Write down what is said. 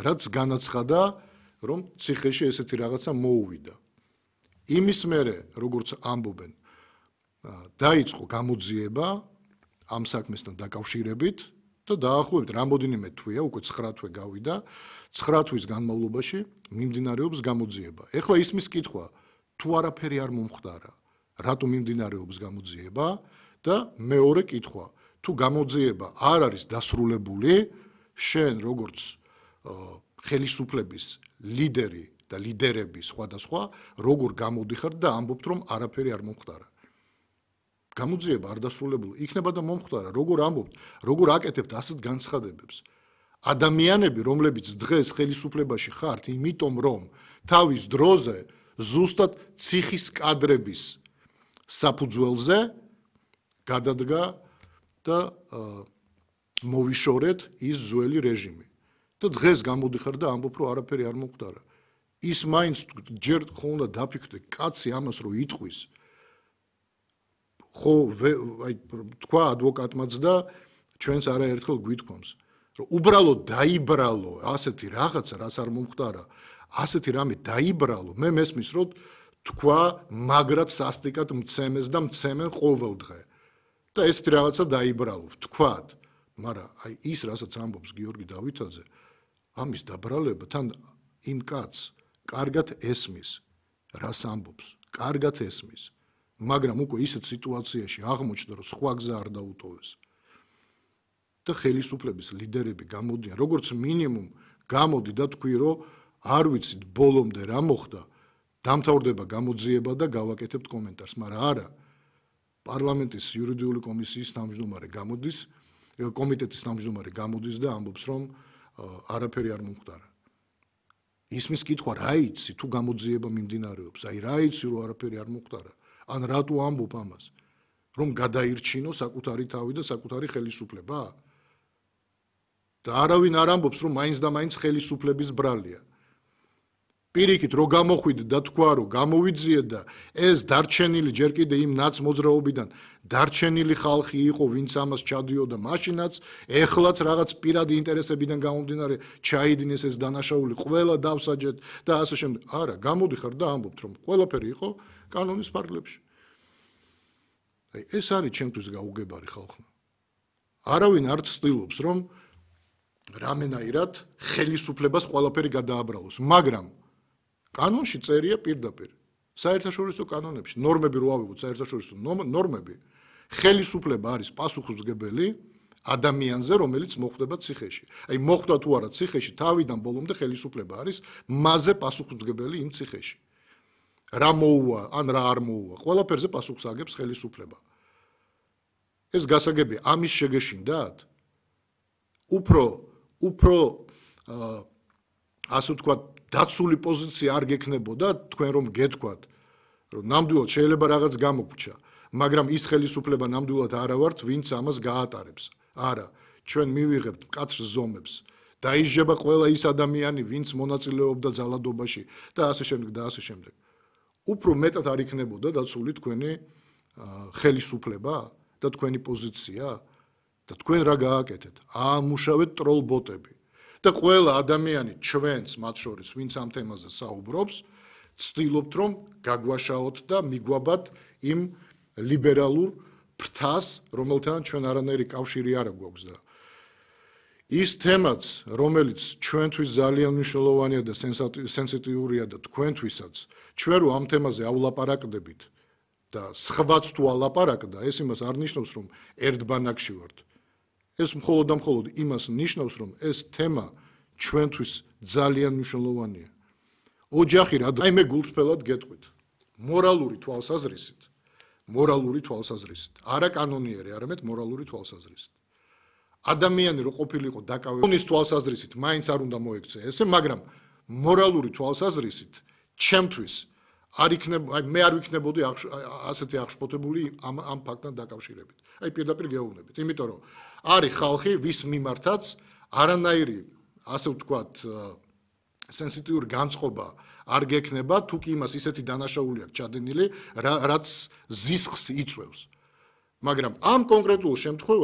რაც განაცხადა, რომ ციხეში ესეთი რაღაცა მოუვიდა. იმის მერე, როგორც ამბობენ, დაიწყო გამოძიება ამ საქმესთან დაკავშირებით და დაახლოებით რამოდენიმე თვეა, უკვე 9 თვე გავიდა, 9 თვის განმავლობაში მიმდინარეობს გამოძიება. ეხლა ისმის კითხვა, თუ არაფერი არ მომხდარა, რატომ მიმდინარეობს გამოძიება და მეორე კითხვა, თუ გამოძიება არ არის დასრულებული, შენ როგორც ხელისუფლების ლიდერი და ლიდერები სხვადასხვა, როგორ გამოდიხარ და ამბობთ, რომ არაფერი არ მომხდარა. გამოძიება არ დასრულებული იქნება და მომხდარა, როგორ ამბობთ, როგორ აკეთებთ ასეთ განცხადებებს. ადამიანები, რომლებიც დღეს ხელისუფლებაში ხართ, იმიტომ რომ თავის დროზე ზუსტად ციხის კადრების საფუძველზე გადადგა და მოვიშორეთ ის ძველი რეჟიმი. და დღეს გამოდიხარ და ამბობ, რომ არაფერი არ მომხდარა. ის მაინც ჯერ ხო უნდა დაფიქრდე, კაცი ამას რო იტყვის, ხო თქვა ადვოკატმაც და ჩვენც არაერთხელ გვითქვამს, რომ უბრალოდ დაიბრალო ასეთი რაღაცა, რაც არ მომხდარა, ასეთი რამე დაიბრალო, მე მესმის, რომ თქვა მაგრად სასტიკად მცემეს და მცემენ ყოველ დღე. და ესეთი რაღაცა დაიბრალო, თქვათ, მაგრამ აი ის, რასაც ამბობს გიორგი დავითაძე, ამის დაბრალება თან იმ კაცს კარგად ესმის, რას ამბობს, კარგად ესმის. მაგრამ უკვე ისეთ სიტუაციაში აღმოჩნდა, რომ სხვა გზა არ დაუტოვეს. და ხელისუფლების ლიდერები გამოდიან, როგორც მინიმუმ გამოდი და თქვი, რომ არ ვიცით ბოლომდე რა მოხდა, დამთავრდება გამოძიება და გავაკეთებთ კომენტარს, მაგრამ არა. პარლამენტის იურიდიული კომისიის თავმჯდომარე გამოდის, კომიტეტის თავმჯდომარე გამოდის და ამბობს, რომ არაფერი არ მომხდარა. ისმის კითხვა, რა იცი თუ გამოძიება მიმდინარეობს, აი რა იცი რომ არაფერი არ მომხდარა, ან რატო ამბობ ამას, რომ გადაირჩინო საკუთარი თავი და საკუთარი ხელისუფლება? და არავინ არ ამბობს, რომ მაინც და მაინც ხელისუფლების ბრალია. პირიქით რო გამოხვიდე და თქვა, რომ გამოვიძიეთ და ეს დარჩენილი ჯერ კიდე იმ ნაც მოძრაობიდან დარჩენილი ხალხი იყო, ვინც ამას ჩადიოდა მაშინაც, ეხლაც რაღაც პირადი ინტერესებიდან გამომდინარე ჩაიდინეს ეს დანაშაული, ყველა დავსაჯეთ და ასე შემდეგ. არა, გამოდიხარ და ამბობთ, რომ ყველაფერი იყო კანონის ფარგლებში. აი ეს არის ჩემთვის გაუგებარი ხალხმა. არავინ არ ცდილობს, რომ რამენაირად ხელისუფლებას ყველაფერი გადააბრალოს, მაგრამ კანონში წერია პირდაპირ, საერთაშორისო კანონებში, ნორმები რო ავიღოთ საერთაშორისო ნორმები, ხელისუფლება არის პასუხისმგებელი ადამიანზე, რომელიც მოხვდება ციხეში. აი მოხვდა თუ არა ციხეში, თავიდან ბოლომდე ხელისუფლება არის მასზე პასუხისმგებელი იმ ციხეში. რა მოუვა, ან რა არ მოუვა, ყველაფერზე პასუხს აგებს ხელისუფლება. ეს გასაგებია, ამის შეგეშინდათ? უფრო ასე ვთქვათ, დაცული პოზიცია არ გექნებოდა თქვენ რომ გეთქვათ, რომ ნამდვილად შეიძლება რაღაც გამოგრჩა, მაგრამ ის ხელისუფლება ნამდვილად არა ვართ, ვინც ამას გაატარებს. არა, ჩვენ მივიღებთ მკაცრ ზომებს. დაიჟება ყველა ის ადამიანი, ვინც მონაწილეობდა ძალადობაში და ასე შემდეგ და ასე შემდეგ. უფრო მეტად არ იქნებოდა დაცული თქვენი ხელისუფლება და თქვენი პოზიცია და თქვენ რა გააკეთეთ? აამუშავეთ ტროლბოტები. და ყველა ადამიანი ჩვენც მათ შორის, ვინც ამ თემაზე საუბრობს, ცდილობთ, რომ გაგვაშაოთ და მიგვაბათ იმ ლიბერალურ ფრთას, რომელთან ჩვენ არანაირი კავშირი არ გვაქვს და ის თემაც, რომელიც ჩვენთვის ძალიან მნიშვნელოვანია და სენსიტიურია და თქვენთვისაც, ჩვენ რო ამ თემაზე ავლაპარაკდებით და სხვაც თუ ალაპარაკდა, ეს იმას არ ნიშნავს, რომ ერთ ბანაკში ვართ. ეს მხოლოდ და მხოლოდ იმას ნიშნავს, რომ ეს თემა ჩვენთვის ძალიან მნიშვნელოვანია. ოჯახი რა, აი მე გულწრფელად გეტყვით. მორალური თვალსაზრისით, არა კანონიერი, არამედ მორალური თვალსაზრისით. ადამიანი რო ყოფილიყო დაკავებული კანონის თვალსაზრისით, მაინც არ უნდა მოექცე ესე, მაგრამ მორალური თვალსაზრისით ჩემთვის არ იქნება, აი მე არ ვიქნებოდი ასეთი აღშფოთებული ამ ფაქტთან დაკავშირებით. აი პირდაპირ გეუბნებით, იმიტომ რომ არის ხალხი, ვის მიმართაც არანაირი, ასე ვთქვათ, სენსიტიური განწყობა არ გექნება, თუ კი იმას ისეთი დანაშაული აქვს ჩადენილი, რაც ზისხს იწვევს. მაგრამ ამ კონკრეტულ შემთხვევაში